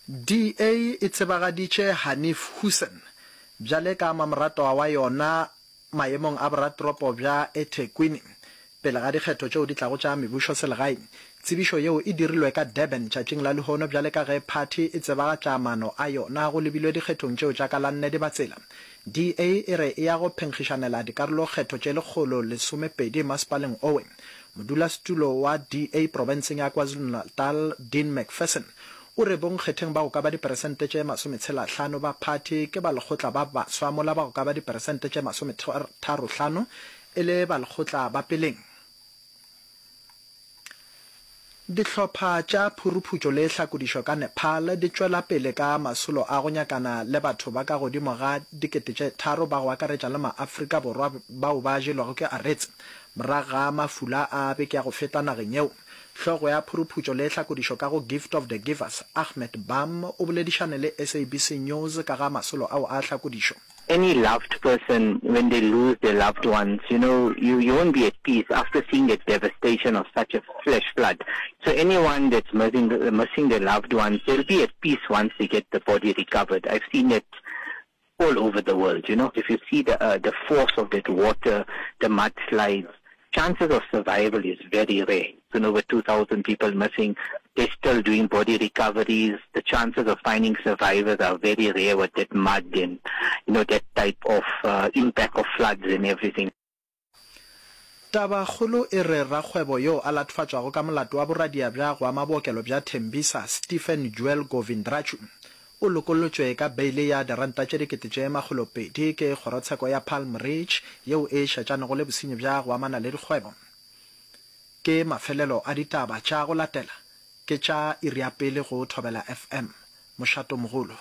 DA e tsebagaditše Hanif Hoosen bjale ka mamoratwa wa yona maemong a boratoropo bja eThekwini pele ga dikgetho tšeo di tlago tša mebušoselegae. Tsebišo yeo e dirilwe ka Durban tšatšing la lehono bjale ka ge phathi e tsebagatša maano a yona go lebilwe dikgethong tšeo tša ka la nne Dibatsela. DA e re e ya go phenkgišanela dikarolokgetho tše 112 masepaleng owe. Modulasetulo wa DA profenseng ya KwaZulu-Natal Dean Macpherson o re bonkgetheng ba go ka ba diperesente tše masometshelahlano ba phathi ke balekgotla ba baswa mola ba go ka ba diperesente tše masometharohlano e le balekgotla ba peleng. Dihlopha tša phuruphutšo le hlakodišo ka Nepal di tšwela pele ka masolo a go nyakana le batho ba ka godimo ga 3000 ba go akaretša le maAfrika Borwa bao ba jelwego ke aretse morago ga mafula a beke ya go feta nageng yeo. Hlogo ya phuruphutšo le hlakodišo ka go Gift of the Givers, Ahmed Bham, o boledišane le SABC News ka ga masolo ao a hlakodišo. Any loved person when they lose their loved ones you know you you won't be at peace after seeing the devastation of such a flash flood so anyone that's missing missing their loved ones they'll be at peace once they get the body recovered I've seen it all over the world you know if you see the uh, the force of that water the mudslides chances of survival is very rare so over 2000 people missing they're still doing body recoveries the chances of finding survivors are very rare with that mud and you know that type of uh, impact of floods and everything Tabakgolo e re rakgwebo yo a latofatšwago ka molato wa boradia bja go ama bookelo bja Tembisa, Stephen Joel Govindraju, o lokollotšwe ka beile ya diranta tše 2000 ke kgorotsheko ya Palm Ridge yeo e šetšanego le bosenyi bja go amana le dikgwebo. Ke mafelelo a ditaba tša go latela ke tša iri ya pele go Thobela FM. Mošatomogolo.